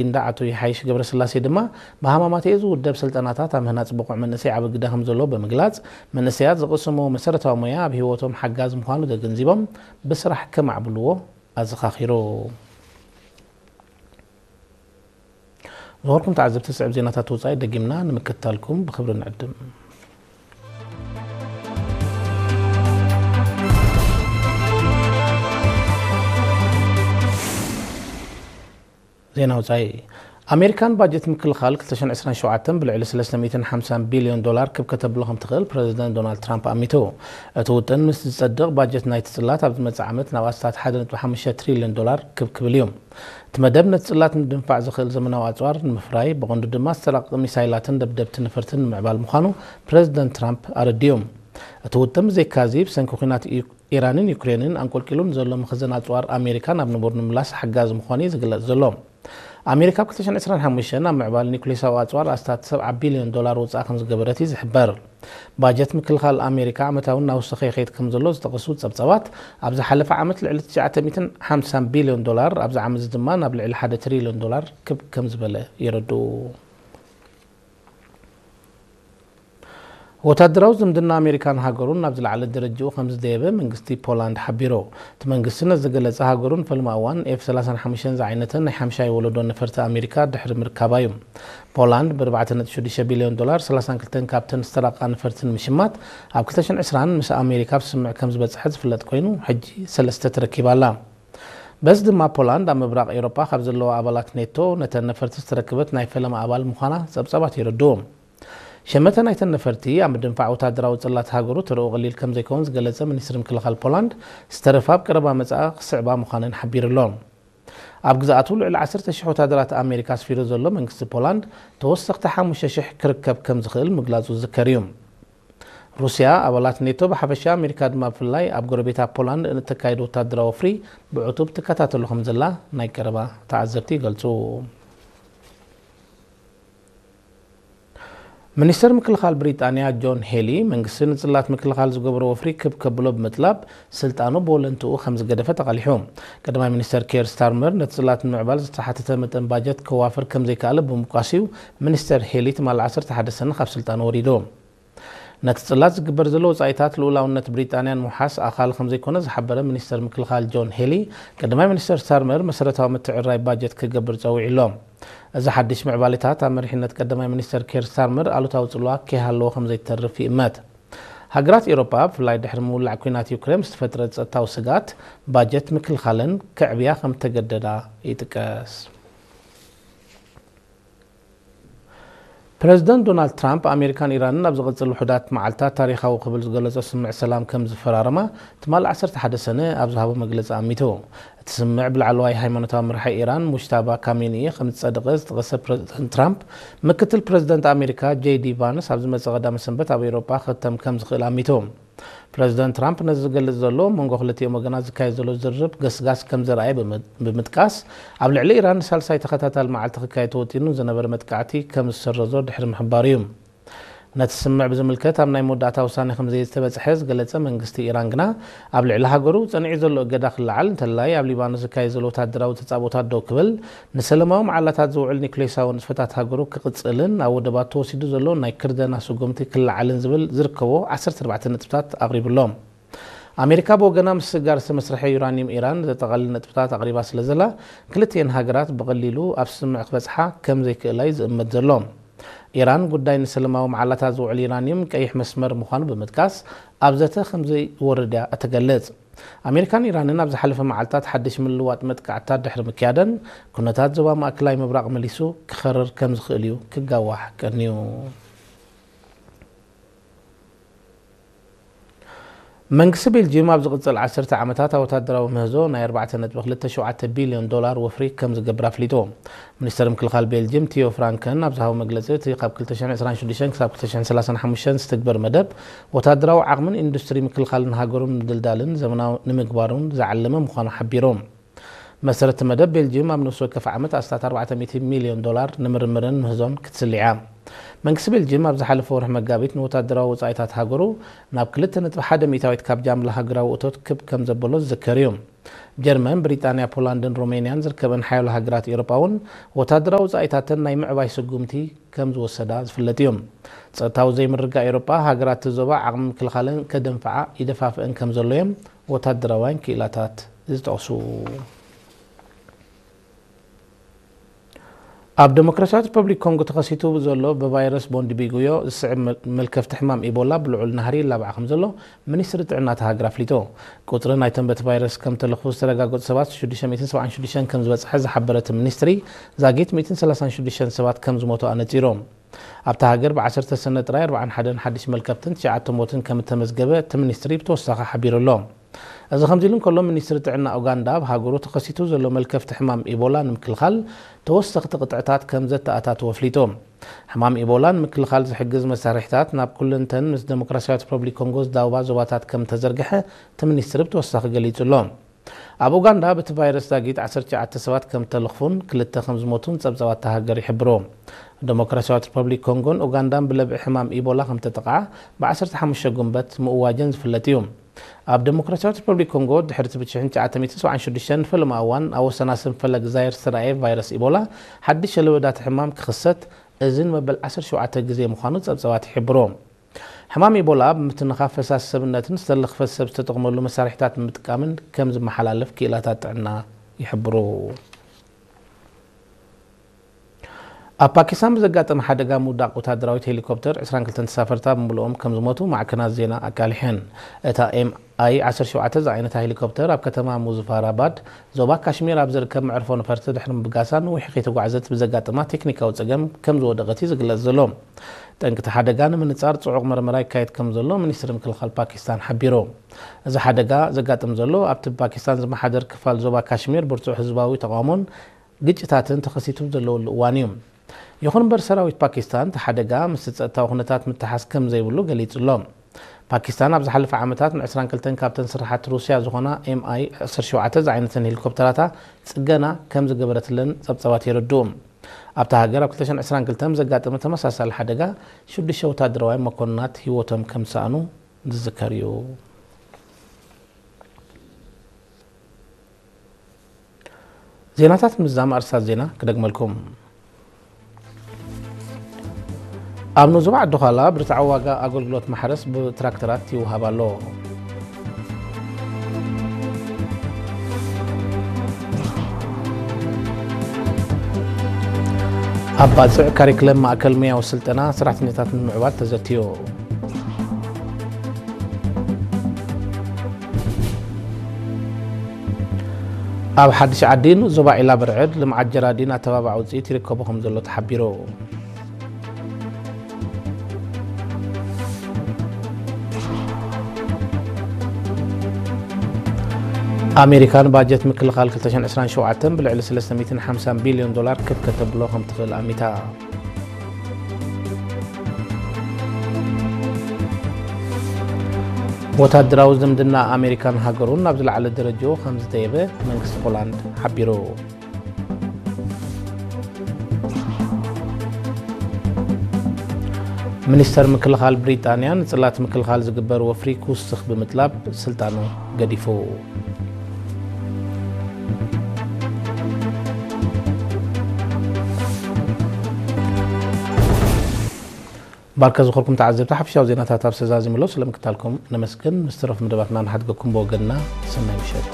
ሊንዳ ኣቶ ይሓይሽ ገብረስላሴ ድማ ብሃማማተኤ ዝውደብ ስልጠናታት ኣብ ምህናፅ ብቑዕ መንእሰይ ዓቢ ግደ ከም ዘለዎ ብምግላፅ፣ መንእሰያት ዝቕስምዎ መሰረታዊ ሞያ ኣብ ህይወቶም ሓጋዚ ምዃኑ ተገንዚቦም ብስራሕ ከማዕብልዎ ኣዘኻኺሩ። ዝኸበርኩም ተዓዘብቲ፣ ስዕብ ዜናታት ወጻኢ ደጊምና ንምክትታልኩም ብኽብሪ ንዕድም። ዜና ወጻኢ። ኣሜሪካን ባጀት ምክልኻል ክልተ ሽሕን ዕስራን ሸውዓተን ብልዕሊ ሰለስተ ሚእትን ሓምሳን ቢልዮን ዶላር ክብ ከተብሎ ከም ትኽእል ፕረዚደንት ዶናልድ ትራምፕ ኣሚቱ። እቲ ውጥን ምስ ዝጸድቕ፣ ባጀት ናይቲ ጽላት ኣብ ዝመጽእ ዓመት ናብ ኣስታት ሓደ ነጥቢ ሓሙሽተ ትሪልዮን ዶላር ክብ ክብል እዩ። እቲ መደብ ነቲ ጽላት ንድንፋዕ ዝኽእል ዘመናዊ ኣጽዋር ንምፍራይ፣ ብቐንዱ ድማ ዝተራቐቐ ሚሳይላትን ደብደብቲ ነፈርትን ንምዕባል ምዃኑ ፕረዚደንት ትራምፕ ኣረዲኡ። እቲ ውጥን ብዘይካዚ፣ ብሰንኪ ኲናት ዩ-፣ ኢራንን ዩክሬንን ኣንቆልቂሉ ንዘሎ መኽዘን ኣጽዋር ኣሜሪካ ናብ ንቡር ንምምላስ ሓጋዚ ምዃኑ እዩ ዝግለጽ ዘሎ። ኣሜሪካ ኣብ ክልተ ሽሕን ዕስራን ሓሙሽተን ኣብ ምዕባል ኒውክሌሳዊ ኣጽዋር ኣስታት ሰብዓ ቢልዮን ዶላር ወጻኢ ከም ዝገበረት እዩ ዝሕበር። ባጀት ምክልኻል ኣሜሪካ ዓመታዊ እናወሰኸ ይኸይድ ከም ዘሎ ዝጠቐሱ ጸብጻባት፣ ኣብ ዝሓለፈ ዓመት ልዕሊ ትሽዓተ ሚእትን ሓምሳን ቢልዮን ዶላር፣ ኣብዚ ዓመት ድማ ናብ ልዕሊ ሓደ ትሪልዮን ዶላር ክብ ከም ዝበለ የረድኡ። ወታደራዊ ዝምድና ኣሜሪካን ሃገሩን ናብ ዝለዓለ ደረጃኡ ከም ዝደየበ መንግስቲ ፖላንድ ሓቢሩ። እቲ መንግስቲ ነዚ ዝገለጸ፣ ሃገሩ ንፈለማ እዋን ኤፍ ሰላሳን ሓሙሽተን ዝዓይነተን ናይ ሓምሻይ ወለዶ ነፈርቲ ኣሜሪካ ድሕሪ ምርካባ እዩ። ፖላንድ ብኣርባዕተ ነጥቢ ሽዱሽተ ቢልዮን ዶላር ሰላሳን ክልተን ካብተን ዝተራቐቓ ነፈርቲ ንምሽማት ኣብ ክልተ ሽሕን ዕስራን ምስ ኣሜሪካ ኣብ ስምምዕ ከም ዝበጽሐት ዝፍለጥ ኮይኑ፣ ሕጂ ሰለስተ ተረኪባ ኣላ። በዚ ድማ ፖላንድ ኣብ ምብራቕ ኤውሮጳ ካብ ዘለዋ ኣባላት ኔቶ ነተን ነፈርቲ ዝተረከበት ናይ ፈለማ ኣባል ምዃና ጸብጻባት የረድኡ። ሸመተ ናይተን ነፈርቲ ኣብ ምድንፋዕ ወታደራዊ ጽላት ሃገሩ ተረኡ ቀሊል ከም ዘይከውን ዝገለጸ ሚኒስትሪ ምክልኻል ፖላንድ፣ ዝተረፋ ኣብ ቀረባ መጻኢ ክስዕባ ምዃነን ሓቢሩ ኣሎ። ኣብ ግዝኣቱ ልዕሊ ዓሰርተ ሽሕ ወታደራት ኣሜሪካ ኣስፊሩ ዘሎ መንግስቲ ፖላንድ፣ ተወሰኽቲ ሓሙሽተ ሽሕ ክርከብ ከም ዝኽእል ምግላጹ ዝዝከር እዩ። ሩስያ፣ ኣባላት ኔቶ ብሓፈሻ፣ ኣሜሪካ ድማ ብፍላይ ኣብ ጎረቤታ ፖላንድ ንእተካይዶ ወታደራዊ ወፍሪ ብዕቱብ ትከታተሎ ከም ዘላ ናይ ቀረባ ተዓዘብቲ ይገልጹ። ሚኒስተር ምክልኻል ብሪጣንያ ጆን ሄሊ፣ መንግስቲ ንጽላት ምክልኻል ዝገብሮ ወፍሪ ክብ ከብሎ ብምጥላብ፣ ስልጣኑ ብወለንትኡ ከም ዝገደፈ ተቓሊሑ። ቀዳማይ ሚኒስተር ኬር ስታርመር፣ ነቲ ጽላት ንምዕባል ዝተሓተተ መጠን ባጀት ከዋፍር ከም ዘይከኣለ ብምብቋስ እዩ ሚኒስተር ሄሊ ትማሊ ዓሰርተ ሓደ ሰነ ካብ ስልጣኑ ወሪዱ። ነቲ ጽላት ዝግበር ዘሎ ወጻኢታት ልኡላውነት ብሪጣንያ ንምውሓስ ኣኻሊ ከም ዘይኮነ ዝሓበረ ሚኒስተር ምክልኻል ጆን ሄሊ፣ ቀዳማይ ሚኒስተር ስታርመር መሰረታዊ ምትዕርራይ ባጀት ክገብር ጸዊዑ ኣሎ። እዚ ሓድሽ ምዕባሌታት ኣብ መሪሕነት ቀዳማይ ሚኒስተር ኬር ስታርመር ኣሉታዊ ጽልዋ ከይሃለዎ ከም ዘይተርፍ ይእመት። ሃገራት ኤውሮጳ፣ ብፍላይ ድሕሪ ምውላዕ ኲናት ዩክሬን ዝተፈጥረ ጸጥታዊ ስግኣት፣ ባጀት ምክልኻለን ከዕብያ ከም ተገደዳ ይጥቀስ። ፕረዚደንት ዶናልድ ትራምፕ፣ ኣሜሪካን ኢራንን ኣብ ዝቕጽል ውሑዳት መዓልታት ታሪኻዊ ክብል ዝገለጾ ስምምዕ ሰላም ከም ዝፈራረማ ትማሊ ዓሰርተ ሓደ ሰነ ኣብ ዝሃቦ መግለጺ ኣሚቱ። እቲ ስምምዕ ብላዕለዋይ ሃይማኖታዊ መራሒ ኢራን ሙጅታባ ካሜኒኢ ከም ዝጸደቐ ዝጠቐሰ ፕረዚደንት ትራምፕ፣ ምክትል ፕረዚደንት ኣሜሪካ ጄ ዲ ቫንስ ኣብ ዝመጽእ ቀዳመ ሰንበት ኣብ ኤውሮጳ ክኽተም ከም ዝኽእል ኣሚቱ። ፕረዚደንት ትራምፕ ነዚ ዝገልጽ ዘሎ፣ ኣብ መንጎ ክልቲኦም ወገናት ዝካየድ ዘሎ ዝርርብ ገስጋስ ከም ዘርኣየ ብምጥ-፣ ብምጥቃስ፣ ኣብ ልዕሊ ኢራን ንሳልሳይ ተኸታታሊ መዓልቲ ክካየድ ተወጢኑ ዝነበረ መጥቃዕቲ ከም ዝሰረዞ ድሕሪ ምሕባሩ እዩ። ነቲ ስምምዕ ብዝምልከት ኣብ ናይ መወዳእታ ውሳነ ከም ዘይተበጽሐ ዝገለጸ መንግስቲ ኢራን ግና፣ ኣብ ልዕሊ ሃገሩ ጸኒዑ ዘሎ እገዳ ክለዓል፣ እንተላይ ኣብ ሊባኖስ ዝካየድ ዘሎ ወታደራዊ ተጻብኦታት ደው ክብል፣ ንሰለማዊ መዓላታት ዝውዕል ኒውክሌሳዊ ንጥፈታት ሃገሩ ክቕጽልን ኣብ ወደባት ተወሲዱ ዘሎ ናይ ክርደና ስጉምቲ ክለዓልን ዝብል ዝርከቦ ዓሰርተ ኣርባዕተ ነጥብታት ኣቕሪቡ ኣሎ። ኣሜሪካ ብወገና፣ ምስጋር ዝተመስርሐ ዩራኒየም ኢራን ዘጠቓልል ነጥብታት ኣቕሪባ ስለ ዘላ፣ ክልቲኤን ሃገራት ብቐሊሉ ኣብ ስምምዕ ክበጽሓ ከም ዘይክእላ እዩ ዝእመት ዘሎ። ኢራን፣ ጉዳይ ንሰለማዊ መዓላታት ዝውዕል ዩራኒየም ቀይሕ መስመር ምዃኑ ብምጥቃስ፣ ኣብ ዘተ ከም ዘይወርድ እያ እትገልጽ። ኣሜሪካን ኢራንን ኣብ ዝሓለፈ መዓልታት ሓድሽ ምልውዋጥ መጥቃዕትታት ድሕሪ ምክያደን፣ ኩነታት ዞባ ማእከላይ ምብራቕ መሊሱ ክኸርር ከም ዝኽእል እዩ ክጋዋሕ ቀንዩ። መንግስቲ ቤልጂየም ኣብ ዝቕጽል ዓሰርተ ዓመታት ኣብ ወታደራዊ ምህዞ ናይ ኣርባዕተ ነጥቢ ክልተ ሸውዓተ ቢልዮን ዶላር ወፍሪ ከም ዝገብር ኣፍሊጡ። ሚኒስተር ምክልኻል ቤልጂየም ቲዮ ፍራንከን ኣብ ዝሃቦ መግለጺ፣ እቲ ካብ ክልተ ሽሕን ዕስራን ሽዱሽተን ክሳብ ክልተ ሽሕን ሰላሳን ሓሙሽተን ዝትግበር መደብ፣ ወታደራዊ ዓቕምን ኢንዱስትሪ ምክልኻልን ሃገሩን ምድልዳልን ዘመናዊ ንምግባሩን ዝዓለመ ምዃኑ ሓቢሩ። መሰረት መደብ ቤልጂየም ኣብ ነፍሲ ወከፍ ዓመት ኣስታት ኣርባዕተ ሚእቲ ሚልዮን ዶላር ንምርምርን ምህዞን ክትስሊ እያ። መንግስቲ ቤልጅየም ኣብ ዝሓለፈ ወርሒ መጋቢት ንወታደራዊ ወጻኢታት ሃገሩ ናብ ክልተ ነጥቢ ሓደ ሚእታዊት ካብ ጃምላ ሃገራዊ እቶት ክብ ከም ዘበሎ ዝዝከር እዩ። ጀርመን፣ ብሪጣንያ፣ ፖላንድን ሮሜንያን ዝርከበን ሓያሎ ሃገራት ኤውሮጳ እውን ወታደራዊ ወጻኢታተን ናይ ምዕባይ ስጉምቲ ከም ዝወሰዳ ዝፍለጥ እዩ። ጸጥታዊ ዘይምርግጋእ ኤውሮጳ፣ ሃገራት እቲ ዞባ ዓቕሚ ምክልኻለን ከደንፍዓ ይደፋፍአን ከም ዘሎ እዮም ወታደራውያን ክኢላታት ዝጠቕሱ። ኣብ ዴሞክራሲያዊት ሪፐብሊክ ኮንጎ ተኸሲቱ ዘሎ ብቫይረስ ቦንዲቢጉዮ ዝስዕብ መል-፣ መልከፍቲ ሕማም ኢቦላ ብልዑል ናህሪ ይላባዕ ከም ዘሎ ሚኒስትሪ ጥዕና እታ ሃገር ኣፍሊጡ። ቁጽሪ ናይቶም በቲ ቫይረስ ከም ተለኽፉ ዝተረጋገጹ ሰባት ሽዱሽተ ሚእትን ሰብዓን ሽዱሽተን ከም ዝበጽሐ ዝሓበረ እቲ ሚኒስትሪ፣ ዛጊት ሚእትን ሰላሳን ሽዱሽተን ሰባት ከም ዝሞቱ ኣነጺሩ። ኣብታ ሃገር ብዓሰርተ ሰነ ጥራይ ኣርባዓን ሓደን ሓድሽ መልከፍትን ትሽዓተ ሞትን ከም እተመዝገበ እቲ ሚኒስትሪ ብተወሳኺ ሓቢሩ ኣሎ። እዚ ከምዚ ኢሉ እንከሎ፣ ሚኒስትሪ ጥዕና ኡጋንዳ ኣብ ሃገሩ ተኸሲቱ ዘሎ መልከፍቲ ሕማም ኢቦላ ንምክልኻል ተወሰኽቲ ቅጥዕታት ከም ዘተኣታተወ ኣፍሊጡ። ሕማም ኢቦላ ንምክልኻል ዝሕግዝ መሳርሒታት ናብ ኩለንተን ምስ ዴሞክራሲያዊት ሪፐብሊክ ኮንጎ ዝዳወባ ዞባታት ከም ተዘርግሐ እቲ ሚኒስትሪ ብተወሳኺ ገሊጹ ኣሎ። ኣብ ኡጋንዳ በቲ ቫይረስ ዛጊት ዓሰርተ ትሽዓተ ሰባት ከም ተለኽፉን ክልተ ከም ዝሞቱን ጸብጻባት እታ ሃገር ይሕብሩ። ዴሞክራሲያዊት ሪፐብሊክ ኮንጎን ኡጋንዳን ብለብዒ ሕማም ኢቦላ ከም ተጠቕዓ ብዓሰርተ ሓሙሽተ ጉንበት ምእዋጀን ዝፍለጥ እዩ። ኣብ ዴሞክራሲያዊት ሪፐብሊክ ኮንጎ ድሕሪ እቲ ብሽሕን ትሽዓተ ሚእትን ሰብዓን ሽዱሽተን ንፈለማ እዋን ኣብ ወሰናስን ፈለግ ዛየር ዝተራእየ ቫይረስ ኢቦላ ሓድሽ ለበዳ እቲ ሕማም ክኽሰት፣ እዚ ንመበል ዓሰርተ ሸውዓተ ግዜ ምዃኑ ጸብጻባት ይሕብሩ። ሕማም ኢቦላ ብምትንኻፍ ፈሳሲ ሰብነትን ዝተለኽፈ ሰብ ዝተጠቕመሉ መሳርሒታት ብምጥቃምን ከም ዝመሓላለፍ ክኢላታት ጥዕና ይሕብሩ። ኣብ ፓኪስታን ብዘጋጠመ ሓደጋ ምውዳቕ ወታደራዊት ሄሊኮፕተር ዕስራን ክልተን ተሳፈርታ ብምልኦም ከም ዝሞቱ ማዕከናት ዜና ኣቃሊሐን። እታ ኤም ኣይ ዓሰርተ ሸውዓተ ዝዓይነታ ሄሊኮፕተር ኣብ ከተማ ሙዝፋራባድ ዞባ ካሽሚር ኣብ ዝርከብ መዕርፎ ነፈርቲ ድሕሪ ምብጋሳ ነዊሕ ከይተጓዕዘት ብዘጋጠማ ቴክኒካዊ ጸገም ከም ዝወደቐት እዩ ዝግለጽ ዘሎ። ጠንቂ እቲ ሓደጋ ንምንጻር ጽዑቕ መርመራ ይካየድ ከም ዘሎ ሚኒስትሪ ምክልኻል ፓኪስታን ሓቢሩ። እዚ ሓደጋ ዘጋጥም ዘሎ ኣብቲ ፓኪስታን ዝመሓደር ክፋል ዞባ ካሽሚር ብርቱዕ ህዝባዊ ተቓውሞን ግጭታትን ተኸሲቱ ዘለወሉ እዋን እዩ። ይኹን እምበር ሰራዊት ፓኪስታን እቲ ሓደጋ ምስቲ ጸጥታዊ ኩነታት ምትሓዝ ከም ዘይብሉ ገሊጹ ኣሎ። ፓኪስታን ኣብ ዝሓለፈ ዓመታት ንዕስራን ክልተን ካብተን ስራሓት ሩስያ ዝኾና ኤም ኣይ ዓሰርተ ሸውዓተ ዝዓይነተን ሄሊኮፕተራታ ጽገና ከም ዝገበረትለን ጸብጻባት የረድኡ። ኣብታ ሃገር ኣብ ክልተ ሽሕን ዕስራን ክልተን ብዘጋጠመ ተመሳሳሊ ሓደጋ ሽዱሽተ ወታደራውያን መኮንናት ህይወቶም ከም ዝሰኣኑ ዝዝከር እዩ። ዜናታት ምዝዛም ኣርስታት ዜና ክደግመልኩም። ኣብ ንዙባ ዓዲ ዃላ ብርትዓዊ ዋጋ ኣገልግሎት ማሕረስ ብትራክተራት ይወሃብ ኣሎ። ኣብ ባጽዕ ካሪክለም ማእከል ሙያዊ ስልጠና ሰራሕተኛታት ንምዕባል ተዘትዩ። ኣብ ሓድሽ ዓዲን ዞባ ዒላ ብርዕድ ልምዓት ጀራዲን ኣተባባዕ ውፅኢት ይርከቡ ከም ዘሎ ተሓቢሩ። ኣሜሪካ ንባጀት ምክልኻል ክልተ ሽሕን ዕስራን ሸውዓተን ብልዕሊ ሰለስተ ሚእትን ሓምሳን ቢልዮን ዶላር ክብ ከተብሎ ከም ትኽእል ኣሚታ። ወታደራዊ ዝምድና ኣሜሪካን ሃገሩን ናብ ዝለዓለ ደረጃኡ ከም ዝደየበ መንግስቲ ፖላንድ ሓቢሩ። ሚኒስተር ምክልኻል ብሪጣንያ ንጽላት ምክልኻል ዝግበር ወፍሪ ክውስኽ ብምጥላብ ስልጣኑ ገዲፉ። ባርከ ዝኾርኩም ተዓዘብቲ ሓፈሻዊ ዜናታት ኣብ ሰዛዚምሎ ስለምክታልኩም ነመስግን። ምስ ተረፉ መደባትና ንሓድገኩም ብወገንና ሰናይ ምሸት።